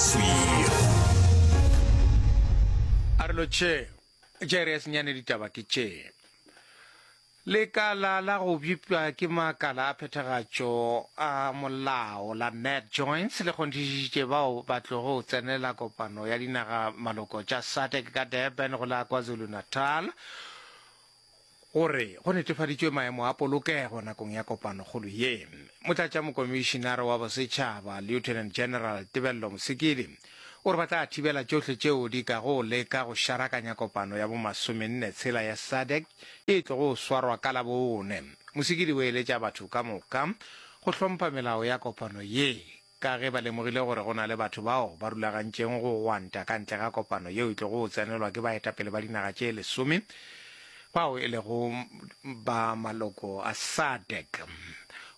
Kgauswi. A re lotšhe tša iri ya senyane ditaba ke tše. Lekala la go bjipša ke makala a phethagatšo a molao la NatJoints le kgonthišišitše bao ba tlogo tsenela kopano ya dinaga maloko tša SADC ka Durban go la KwaZulu-Natal gore go netefaditšwe maemo a polokego nakong ya kopanokgolo ye. Motlatšamokomišinare wa bosetšhaba Lieutenant General Tebello Mosekedi o re ba tla thibela tšohle tšeo di kago leka go šarakanya kopano ya bomasomenne tshela ya SADC e tlogo swarwa ka Labone. Mosekedi o eletša batho ka moka go hlompha melao ya kopano ye ka ge ba lemogile gore go na le batho bao ba rulagantšeng go gwanta ka ntle ga kopano yeo e tlogo tsenelwa ke baetapele ba dinaga tše lesome bao e lego ba maloko a SADC.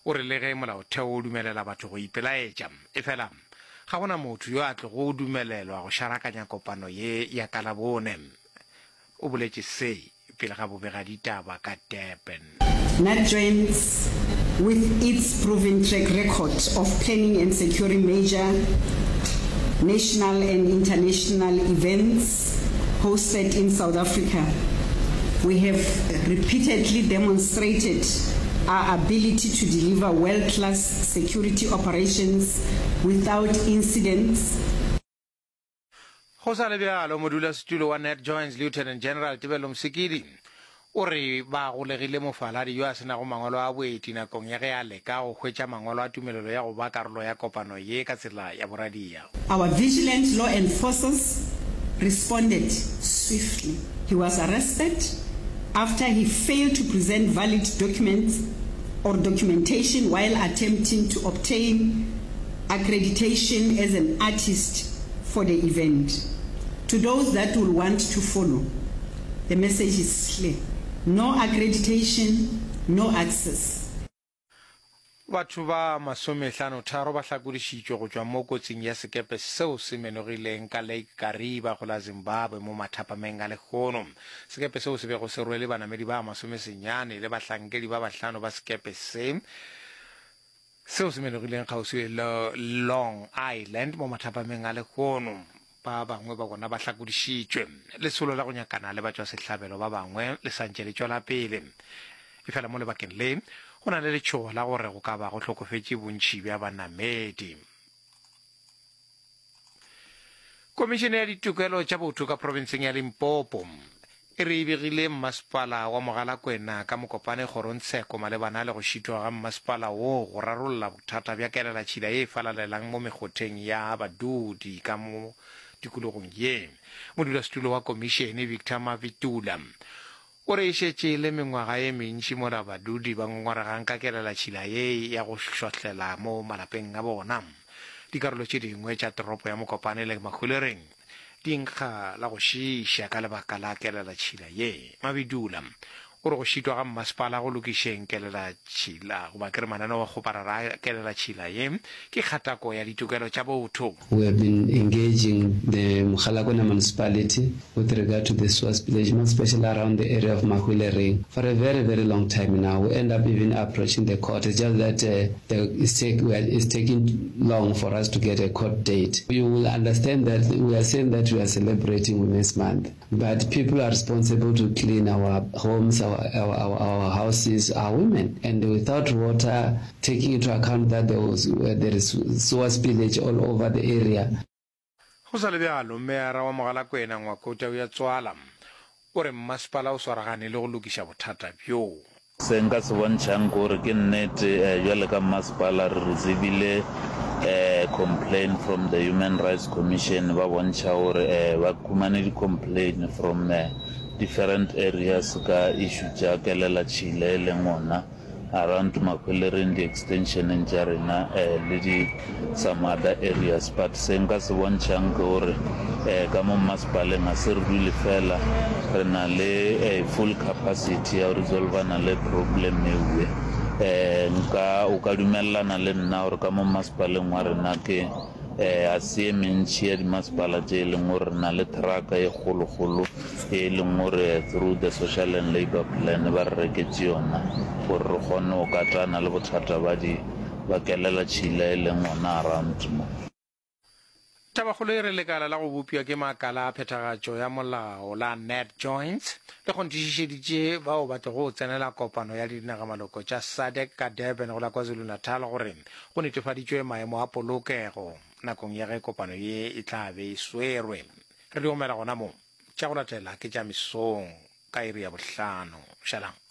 O re le ge molaotheo o dumelela batho go ipelaetša, efela Ga go na motho yo a tlogo dumelelwa go šarakanya kopano ye ya ka Labone. O boletše se pele ga bobegaditaba ka Durban. NatJoints, with its proven track record of planning and securing major national and international events hosted in South Africa, we have repeatedly demonstrated our ability to deliver world-class security operations without incidents. Go sa le bjalo, modulasetulo wa NatJoints Lieutenant General Tebello Mosekedi o re ba golegile mofaladi yo a se nago mangwalo a boeti nakong ya ge a leka go hwetša mangwalo a tumelelo ya go ba karolo ya kopano ye ka tsela ya boradia. Our vigilant law enforcers responded swiftly. He was arrested after he failed to present valid documents or documentation while attempting to obtain accreditation as an artist for the event. To those that will want to follow, the message is clear, no accreditation, no access. Batho ba masomehlanotharo ba hlakodišitšwe go tšwa mo kotsing ya sekepe seo se menogileng ka Lake Kariba go la Zimbabwe mo mathapameng a lehono. Sekepe seo se bego se rwele banamedi ba masomesenyane le bahlankedi ba bahlano ba sekepe se seo se menogileng kgauswi le Long Island mo mathapameng a lehono. Ba bangwe ba bona ba hlakodišitšwe. Lesolo la go nyakana le batšwasehlabelo ba bangwe le sa ntše le tšwela pele. Efela mo lebakeng le, go na le letšhogo la gore go ka ba go hlokofetše bontši bja banamedi. Komišene ya Ditokelo tša Botho ka profenseng ya Limpopo e re e begile mmasepala wa Mogalakwena ka Mokopane kgorongtsheko malebana le go šitwa ga mmasepala woo go rarolla bothata bja kelelatšhila ye e falalelang mo mekgotheng ya badudi ka mo tikologong ye. Modulasetulo wa komišene Victor Mavitula o re e šetše e le mengwaga ye mentši mola badudi ba ngongoregang ka kelelatšhila ye ya go šwahlela mo malapeng a bona. Dikarolo tše dingwe tša toropo ya Mokopane le Mahwelereng Di nkga la go šiiša ka lebaka la kelelatšhila ye. Mabidula o re go šitwa ga mmasepala go lokišeng kelelatšhila goba ke re mananeo a kgoparara a kelelatšhila ye ke kgatako ya ditokelo tša botho. We have been engaging the Mogalakwena Municipality with regard to the sewer spillage, more especially around the area of Mahwelereng, for a very, very long time now. We end up even approaching the court. It's just that The, it's, take, we are, it's taking long for us to get a court date. You will understand that we are saying that we are celebrating Women's Month, but people are responsible to clean our homes, our, our, our, our houses are women. And without water, taking into account that there, was, uh, there is sewer spillage all over the area. Go sa le bjalo, Meyara wa Mogalakwena Ngwako Tauyatswala o re mmasepala o swaragane le go lokiša bothata bjo. Se nka se bontšhang ke gore ke nnete bjale ka mmasepala re receivile complain from the Human Rights Commission ba bontšha gore ba khumane di complain from different areas ka issue tša kelelatšhila e leng ona Around Mahwelereng di extensioneng tša rena le di some other areas but se nka se bontšhang ke gore ka mo mmasepaleng ga se re dule fela re na le a full capacity ya go resolvana le problem ewe. Nka o ka dumelelana le nna gore ka mo mmasepaleng wa rena ke ga se ye mentši ya dimasepala tše e leng gore re na le truck e kgolokgolo e leng gore through the Social and Labour Plan ba re reketše yona gore re kgone go katana le bothata ba di ba kelela tšhila e leng gona around mo. Tabakgolo e re lekala la go bopša ke makala a phethagatšo ya molao la NatJoints le kgonthišišeditše bao ba tlogo tsenela kopano ya dinagamaloko tša SADC ka Durban go la KwaZulu-Natal gore go netefaditšwe maemo a polokego nakong ya ge kopano ye e tla be e swerwe. Re di omela gona mo. Tša go latela ke tša mesong ka iri ya bohlano. Šalang.